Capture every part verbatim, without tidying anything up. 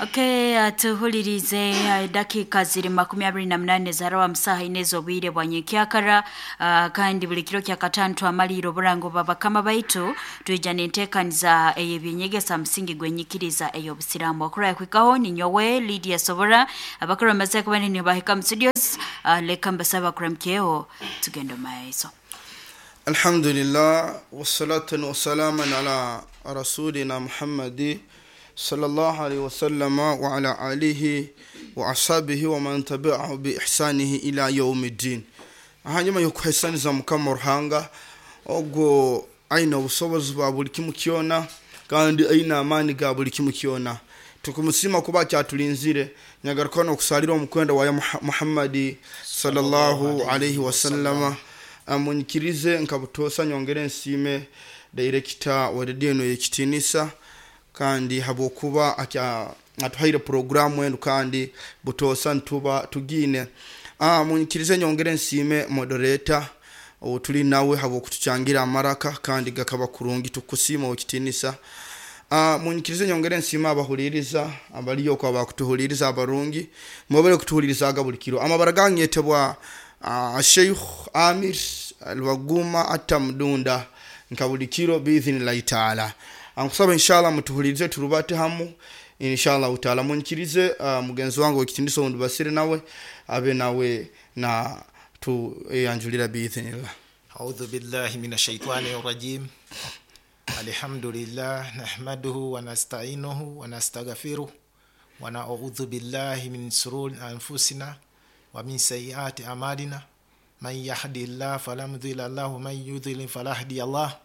Okay, tuhulirize dakika ziri makumi abiri na munane zarawa musaha ine z'obwire bwa nyenkyakara. uh, kandi buli kiro kya katano twamalira oburango bw'abakama baitu twija n'enteekaniza ey'ebyenyegesa musingi gw'enyikiriza ey'obusiraamu. Okurayo kwikaho ninyowe Lydia Sobora abakuru bamaze kuba nibahika mu studios. uh, leka mbasaba kuramukyeho tugende mu maiso. Alhamdulillah wassalatu wassalamu ala rasulina Muhammadi sallallahu alaihi wasallama wa ala alihi wa ashabihi wa man tabi'ahu bi ihsanihi ila yawmiddin. Hanyuma yokuhaisaniza Mukama Ruhanga ogwo aina obusobozi bwa buli kimu kyona kandi aina amaani ga buli kimu kyona, tukumusima kuba kyatulinzire nyagaruka n'okusalira omukwenda wa Muhammadi sallallahu alaihi wasallama. Amunyikirize nkabutosa nyongere nsiime director wa radio eno y'ekitinisa kandi habwokuba atuhaire programu enu kandi butosa ntuba tugine. Ah, munyikirize nyongere nsiime moderator tuli nawe habwokutuchangira amaraka kandi gakaba kurungi, tukusima okitinisa. Ah, munyikirize nyongere nsiime abahuliriza abaliyo kwa bakutuhuliriza abarungi mubere kutuhulirizaga buli kiro. Amabara ganyetebwa uh, Sheikh Amir Alwaguma Atamdunda nka buli kiro biidhinillahi taala. Ankusaba inshallah mutuhulirize turubate hamu inshallah taala. Munyikirize uh, mugenzi wange wekitiniso wundi basire nawe abe nawe na tuyanjulira biidhinillah. A'udhu billahi minash shaitani rajim. Alhamdulillah nahmaduhu wa nasta'inuhu wa nastaghfiruh wa na'udhu billahi min shururi anfusina wa min sayyiati a'malina man yahdihillahu fala mudilla lahu wa man yudlil fala hadiya lahu.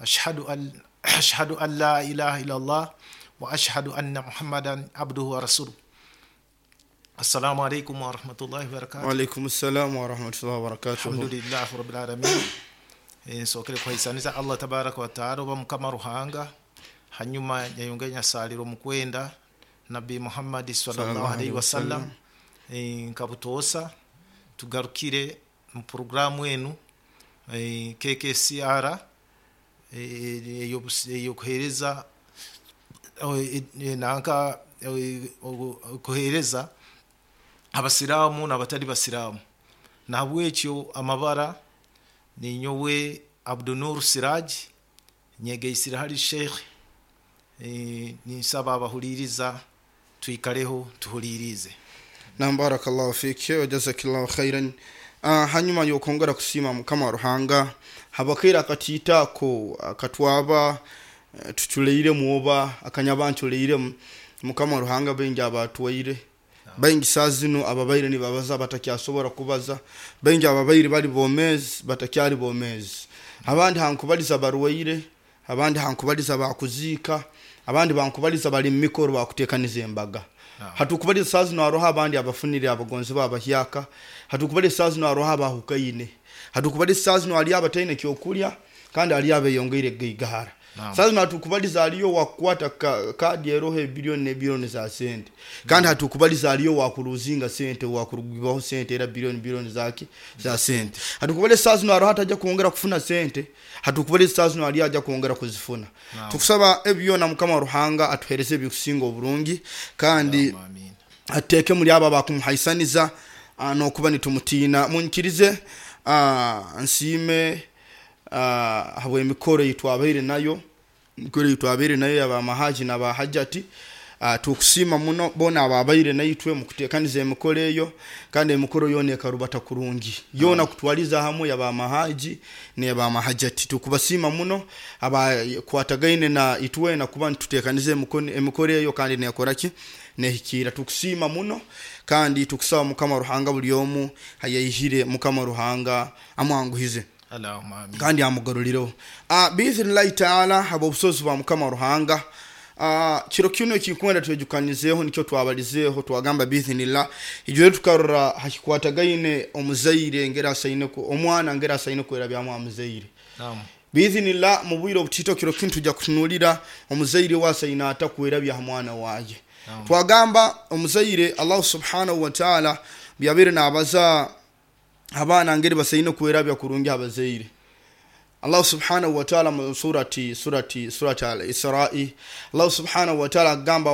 Ashhadu an ashhadu an la ilaha illallah wa ashhadu anna Muhammadan abduhu wa rasuluh. Assalamu alaikum wa rahmatullahi wa barakatuh. Wa alaikum assalam wa rahmatullahi wa barakatuh. Alhamdulillah rabbil alamin. Nsokere kuhaisaniza Allah tabaraka wa taala oba Mukama Ruhanga, hanyuma nyayongera nyasalira omukwenda Nabi Muhammad sallallahu alaihi wasallam. Nkabutosa tugarukire mu programu enu K K C R eyokuhereza nanka kuhereza abasiramu n'abatali basiramu. Nahabwekyo amabara ninyowe Abdunur Siraj nyegeisira hali Sheikh, e, ninsaba abahuliriza twikareho tuhulirize. Na barakallahu fiki wa jazakillahu khairan. Uh, hanyuma yokongera kusima Mukama Ruhanga habakira akatita ko akatwaba tuchuleire muoba akanyabanchuleire Mukama Ruhanga bengi abatuwaire bengi sazino ababaire ni babaza batakyasobora kubaza bengi ababaire bali bomezi batakyali bomezi, abandi hankubaliza barwaire, abandi hankubaliza bakuzika, abandi bankubaliza bali mikoro bakutekaniza embaga. Hatukubaliza sazino aroha abandi abafunire abagonzi babahyaka, hatukubaliza sazino aroha abahukaine, hatukubaliza sazino ali abataine kyokulya kandi ali abeyongeire geigahara. Sazino hatukubaliza aliyo wakwata ka, kadi erohe bilioni ne bilioni za sente kandi hatukubaliza aliyo wakuruzinga sente wakurugibaho sente era bilioni bilioni zaki za sente. Hatukubaliza sazino aroha ataja kuongera kufuna sente, hatukubaliza sazino ali aja kuongera kuzifuna. Tukusaba ebyo na Mukama Ruhanga atuhereze bikusinga oburungi kandi ateke muri aba bakumuhaisaniza nokuba nitumutina. Munyikirize nsime habwe emikoro yitwabaire nayo mikoro yitwabaire nayo yaba mahaji na bahajati. Tukusima muno bona ababaire naitwe mukutekaniza emikoro eyo kandi emikoro yone ekarubata kurungi yona kutwaliza hamwe yaba mahaji ne ba mahajati. Tukubasima muno abakwatagaine na itwe na kuba tutekanize emikoro eyo kandi nekoraki nehikira. Tukusima muno kandi tukusaba Mukama Ruhanga buli omu hayayihire Mukama Ruhanga amwanguhize Allahumma amin kandi amugarurireho ah biidhinillahi taala. Habo obusozi bwa Mukama Ruhanga. Ah, kiro kino kikwenda twejukanizeho nikyo twabalizeho twagamba biidhinillah ijo tukarora hakikwatagaine omuzaire ngera asaine ku omwana ngera asaine kwera byamu amuzaire. Naam biidhinillah mu bwiro obutito kiro kintu tujja kutunulira omuzaire wasaine atakwera bya mwana waye. Twagamba omuzaire Allah subhanahu wa ta'ala byabere nabaza abaana ngeri basaine kwera bya kurungi abazaire. Allah subhanahu wa ta'ala mu surati surati surati al-Isra'i, Allah subhanahu wa ta'ala agamba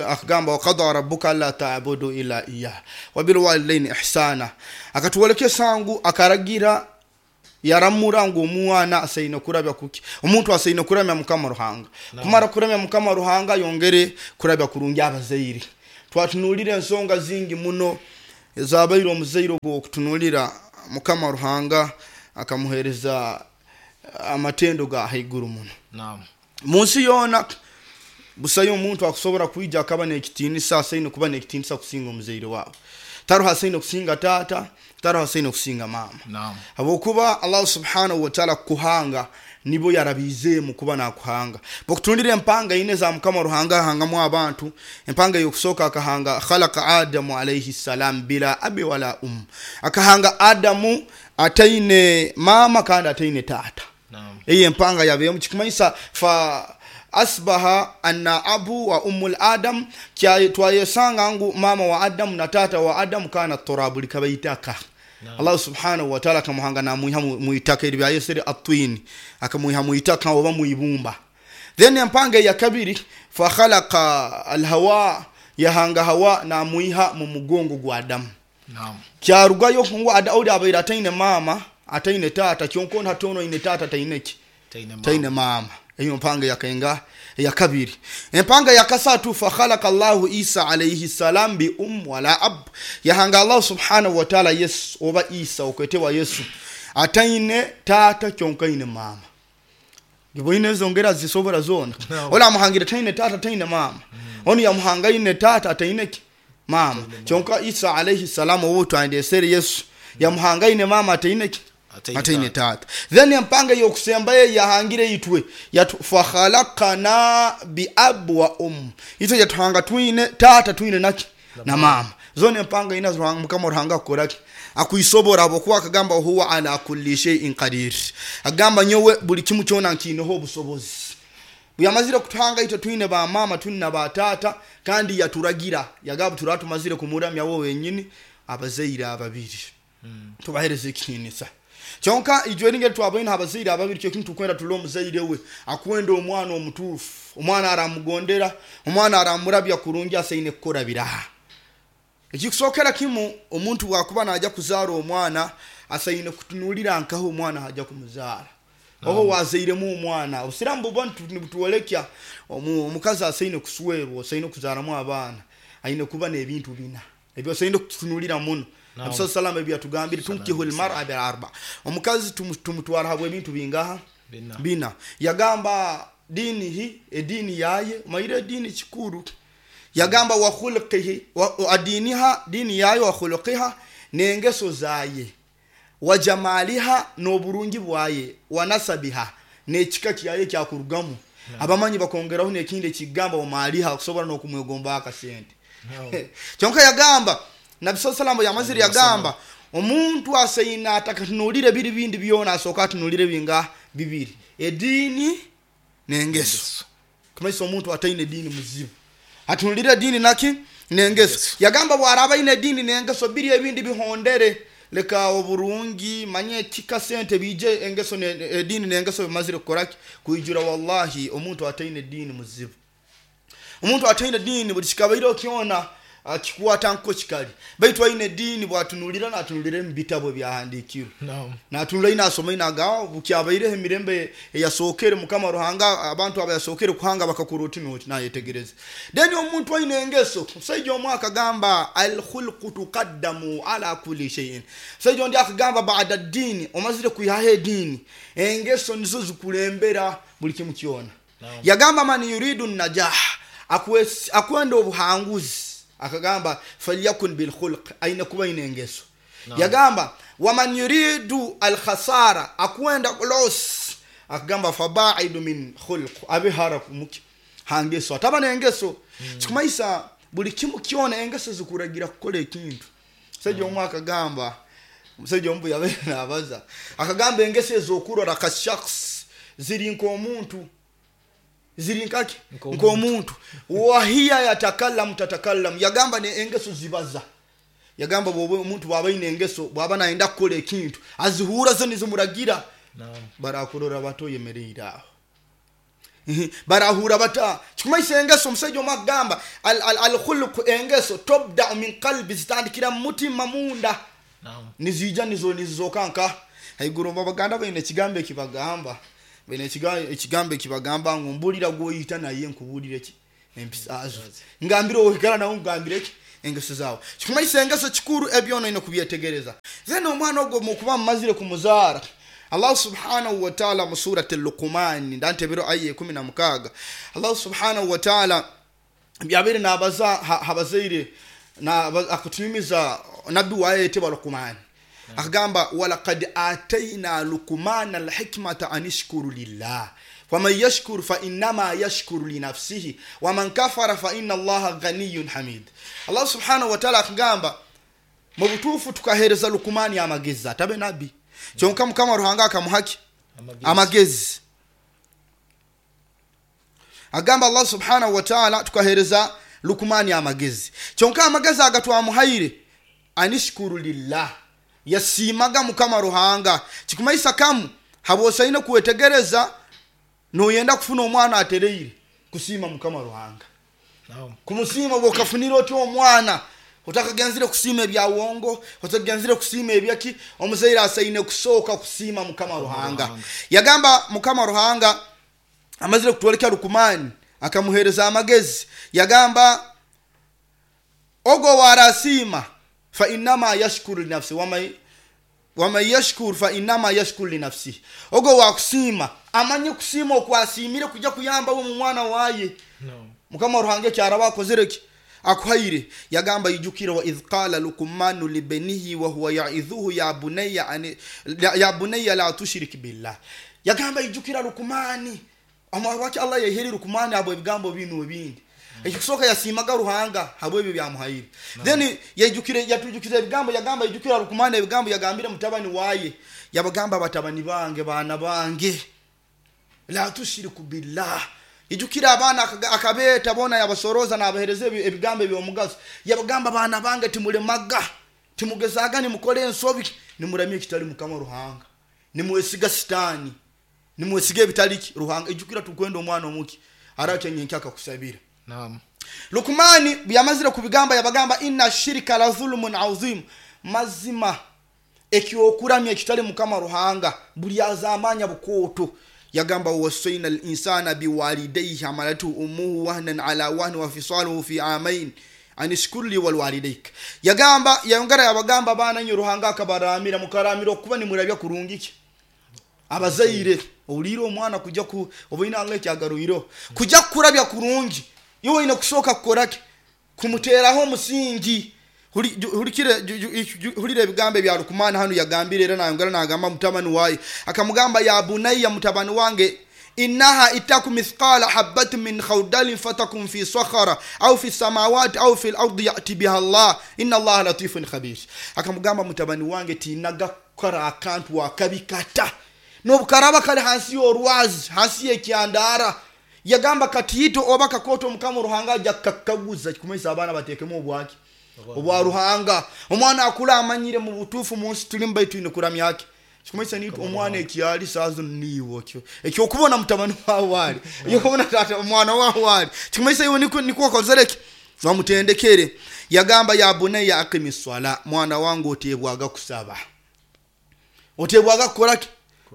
akagamba waqada rabbuka alla ta'budu illa iyyah wa bil walidayni ihsana, akatuwolekesa ngu akaragira yaramura ngu omwana asaine kurabya kuki, omuntu asaine kuramya Mukama Ruhanga. No. Kumara kuramya Mukama Ruhanga yongere kurabya kurungi abazaire. Twatunulira ensonga zingi muno ezabaire omuzaire ogwo okutunulira Mukama Ruhanga akamuhereza amatendo ga haiguru muno. Naam. Munsi yona busayo omuntu akusobora kwija akaba n'ekitinisa asaine kuba n'ekitinisa kusinga omuzaire wawe. Taruha asaine kusinga tata, taruha asaine kusinga mama. Naam. Habwokuba Allah subhanahu wa ta'ala kuhanga nibo yarabizeemu kuba nakuhanga. Bokutundira empanga ine za Mukama Ruhanga ahangamu abantu, empanga yokusooka akahanga khalaqa Adamu alayhi salam bila abi wala um. Akahanga Adamu ataine mama kandi ataine tata. Naam. Iyi empanga yabeemu kikumanyisa fa asbaha anna abu wa ummul adam, twayesanga ngu mama wa Adam na tata wa Adam kana turabu likabaitaka. No. Allah subhanahu wa ta'ala akamuhanga namuiha muitaka eri byayesere atwini, akamuiha muitaka oba muibumba. Then empanga ya kabiri fa khalaqa alhawa, yahanga hawa namuiha mu mugongo gwa Adam. Naam. Kyarugayo ngu Adaudi abaira ataine mama ataine tata, kyonkona hatono ine tata taineki taine mama. Eyo mpanga yakaenga ya kabiri. Empanga ya kasatu fa khalaqa Allahu Isa alayhi salam bi um wala ab, yahanga Allah subhanahu wa ta'ala Yesu oba Isa okwetewa Yesu ataine tata kyonkaine mama. Giboine zongera zisobora zona. No. Ola muhangira taine tata taine mama. Mm. Oni yamuhanga ine tata ataine ki mama. Kyonka Isa alayhi salam owo twandesere Yesu yamuhanga ine mama ataine ki ataine tata. Then empanga yokusembaye yahangire itwe yatu fakhalaqana bi ab wa um, itwe yatuhanga twine tata twine naki na mama. Zone empanga ina Ruhanga Mukama Ruhanga akoraki akuisobora abokuwa akagamba huwa ala kulli shay'in qadir, agamba nyowe buli kimu kyona nkineho obusobozi. Buyamazire kutuhanga itwe twine ba mama twine na ba tata, kandi yaturagira yagaba turatumazire kumuramya wowe wenyini abazaire ababiri. Mm. Tubahereze ekitinisa. Kyonka ijwe ringe twabaine abazaire ababiri kyo kintu kwenda tulo omuzaire we akwenda omwana omutuufu, omwana aramugondera, omwana aramurabya kurungi asaine kukora biraha. Ekikusokera kimu omuntu wakuba naja kuzaara omwana asaine kutunulira nkaho omwana haja kumuzaara. Oho wazairemu omwana obusiramu buba nibutuolekya omukazi asaine kuswerwa, asaine kuzaaramu abaana, aine kuba n'ebintu bina ebyo asaine kutunulira muno. Nabi sallam ebyatugambire tunkihul mar'a bil arba, omukazi tumutwara habwe ebintu bingaha bina, bina. Yagamba dini hi edini yaye maire dini kikuru, yagamba wa khulqihi wa adiniha dini yaye wa khulqiha nengeso zaye wa jamaliha n'oburungi bwaye wa nasabiha n'ekika kyaye kyakurugamu. Abamanyi bakongeraho n'ekindi ekigamba wa maliha kusobora n'okumwegomba akasente. No. Kyonka yagamba Nabi sallallahu yamazire yagamba omuntu asaina atakatunulire biri bindi byona asoka atunulire binga bibiri, edini nengeso. Kumaisa omuntu ataine dini muzibu atunulire dini naki nengeso. Yagamba bwaraba ine dini nengeso biri ebindi bihondere leka oburungi manye kika sente bije engeso ne edini nengeso bimazire kukoraki kuijura. Wallahi omuntu ataine dini muzibu, omuntu ataine dini buli kikabaire kyona akikuwata nko kikali, baitu aine dini bwatunulira natunulira mu bitabo byahandikirwe. No. Natunula ina asoma ina gawo bukyabaire emirembe eyasokere Mukama Ruhanga abantu abayasokere kuhanga bakakuruti noti nayetegereza. Then omuntu aine engeso musajja omwe akagamba al khulqu tuqaddamu ala kulli shay'in, musajja ondi akagamba ba'da dini omazire kuyihaho edini engeso nizo zikulembera buli kimu kyona. No. Yagamba man yuridu najah, akwenda obuhanguzi akagamba falyakun bil khulq, aina kuba ine engeso. No. Yagamba waman yuridu al khasara, akwenda loss akagamba fabaidu min khulq, abe hara muki hangeso ataba nengeso. Mm. Kikumaisa buli kimu kyona engeso zikuragira kukola ekintu. Musajja omwe akagamba, musajja ombu yabe nabaza akagamba engeso ezokurora ka shakhs ziri nk'omuntu, ziri nkaki nk'omuntu, wahiya yatakallamu tatakallamu. Yagamba ne engeso zibaza, yagamba bwoba omuntu bwaba aine engeso bwaba nayenda kukola ekintu azihura zo nizimuragira. Naam. Barakurora bato oyemereire aho. Barahura bata kikumaisa engeso. Omusajja omu akugamba al- al- alkhuluqu engeso tobdau min qalbi, zitandikira mu mutima munda, Naam. niziija nizo nizizoka nka haiguru. Abaganda baine ekigambo ekibagamba, baine ekiga- ekigambo ekibagamba ngu mbulira gwoyita naye nkubuulire ki empisa zo, ngambire oikara nawe nkugambire ki engeso zawe. Kikumaisa engeso kikuru, ebyona oine kubyetegereza. Then omwana ogwo mukuba mumazire kumuzaara, Allah subhanahu wa taala mu surati Luqumani, ndantebero aya ekumi na mukaaga, Allah subhanahu wa taala byabaire nabaza ha- habazaire na- akutunyumiza nabbi wayetebwa Lukumani, akagamba walaqad ataina Lukumana alhikmata an ishkuru lillah waman yashkuru fainama yashkuru linafsihi waman kafara faina Allaha ghaniyun hamid. Allah subhanahu wataala akagamba mu butuufu tukahereza Lukumani amagezi, atabe nabbi, kyonka Mukama Ruhanga akamuhaki Amagezi. Amagezi. Agamba Allah subhanahu wataala tukahereza Lukumani amagezi, kyonka amagezi aga twamuhaire anishkuru lillah, yasiimaga Mukama Ruhanga. Kikumaisa kamu habwosaine kwetegereza noyenda kufuna omwana atereire kusiima Mukama Ruhanga. Naam. Kumusiima bwokafunira otya omwana otakagenzire kusiima ebyawongo, otakagenzire kusiima ebyaki, omuzaire asaine kusooka kusiima Mukama Ruhanga. Ruhanga. Yagamba Mukama Ruhanga amazire kutwoleka Lukumani akamuhereza amagezi, yagamba ogo warasiima fainama yashkuru linafsi waman waman yashkur fainama yashkuru linafsihi, ogo wakusiima amanye kusiima okwasiimire kujja kuyambawo mu mwana waye. Naam. Mukama Ruhanga ekyaraba akozere ki akuhaire. Yagamba ijukire wa idh qala Lukumanu libenihi wahuwa yaidhuhu ya bunaya ani- ya- ya bunaya la tushrik billah. Yagamba ijukira Lukumani lwaki Allah yeheri Lukumani abo ebigambo bino ebindi. Ekikusooka yasiimaga Ruhanga habwebyo byamuhaire, then yajukire yatujukiza ebigambo. Yagamba ijukira Lukumani ebigambo yagambire mutabani waye, yabagamba batabani bange, baana bange, la tushiriku billah. Ijukira abaana akaga- akabeeta bona, yabasoroza nabahereza ebi- ebigambo ebyomugaso. Yabagamba baana bange, timulemaga, timugezaga, nimukora ensobi, nimuramya ekitali Mukama Ruhanga, nimwesiga sitaani, nimwesiga ebitaliki Ruhanga. Ijukira tukwenda omwana omuki arakyenyenki akakusabira. Naam. Lukumani byamazire kubigamba, yabagamba inna shirika la dhulumun azim, mazima ekyokuramya ekitali Mukama Ruhanga buli azamanya bukooto. Yagamba wasaina linsana biwalidaihi hamalatuhu ummuhu wahnan ala wahni wa fisaluhu fi amain anishkurli walwalidaik. Yagamba yayongera yabagamba baana nyo Ruhanga akabaramira, mukaramira okuba nimurabya kurungi ki abazaire. Owulire omwana kujja ku obaine anga ekyagaruireho kujja kukurabya kurungi, iwe oine kusooka kukoraki kumuteeraho omusingi. Huri- ju- hurikire ju- ju- ju- hurira ebigambo ebya Lukumani hanu yagambire. Era nayongera nagamba mutabani waye, akamugamba ya bunayya, mutabani wange, innaha itaku mithqala habatin min khardalin fatakun fi sakhara au fi samawati au fi lardi yati biha Allah inna Allaha latifun khabir. Akamugamba mutabani wange, tinaga kukora akantu akabi kata nobukaraba kali hansi y'orwazi, hansi y'ekyandara. Yagamba katiito oba kakoto, Mukama Ruhanga ajja kakaguza. Kikumanyisa abaana bateekemu obwaki obwa Ruhanga. Omwana akula amanyire mu butuufu mu nsi tulimu baitu twine kuramyaki. Kikumanyisa nitu omwana ekyali saazo niiwe okyo ekyokubona mutabani wawe ali, ekyokubona tata omwana wawe ali, kikumanyisa iwe niko niko okozereki wamutendekere. Yagamba ya bunayya aqimi swala, mwana wange oteebwaga kusaba, oteebwaga kukoraki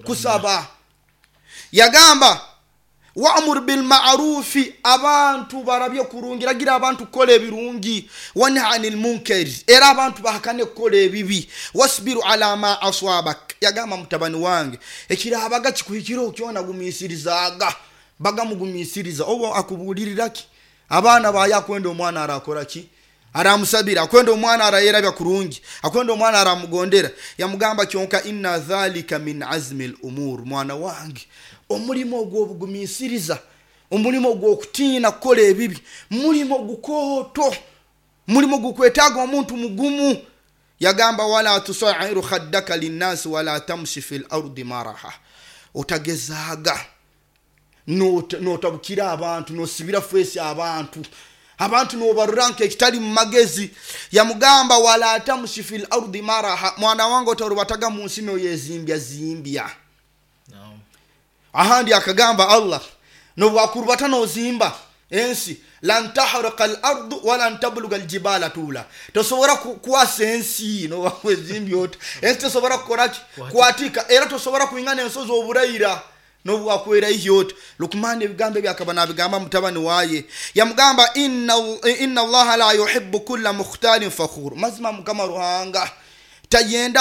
kusaba. Yagamba wamur bilmarufi, abantu barabye kurungi, ragira abantu kukola ebirungi, wanha anil munkari, era abantu bahakane kukola ebibi, wasbiru ala ma aswabak. Yagamba mutabani wange, ekirabaga kikuhikire kyona gumiisirizaaga, bagamugumiisiriza oba akubuuliriraki abaana baye. Akwenda omwana arakoraki aramusabira, akwenda omwana arayerabya kurungi, akwenda omwana aramugondera. Yamugamba kyonka inna dhalika min azmi lumur, mwana wange, omulimu ogw'obugumiisiriza, omulimu ogw'okutiina kukola ebibi, mulimu gukooto, mulimu gukwetaaga omuntu mugumu. Yagamba wala tusairu khaddaka linnasi wala tamshi fi lardi maraha, otagezaaga nota- notabukira abantu, nosibira feesi abantu, abantu nobarura nkekitali mu magezi. Yamugamba wala tamshi fi lardi maraha, mwana wange otarubataga mu nsi noyezimbya zimbya. Ahandi akagamba Allah, nobwakurubata nozimba ensi, lan tahrika al ardu walan tabluga aljibala tula, tosobora kukwasa ensi nobwakwezimbi ota, ensi tosobora kukoraki kwatika, era tosobora kwingana ensozi oburaira nobwakweraihya ota. Lukmani ebigambo ebyo akaba nabigamba mutabani waye, yamugamba inna, inna allaha la yuhibbu kulla mukhtalin fakhur, mazima Mukama Ruhanga tayenda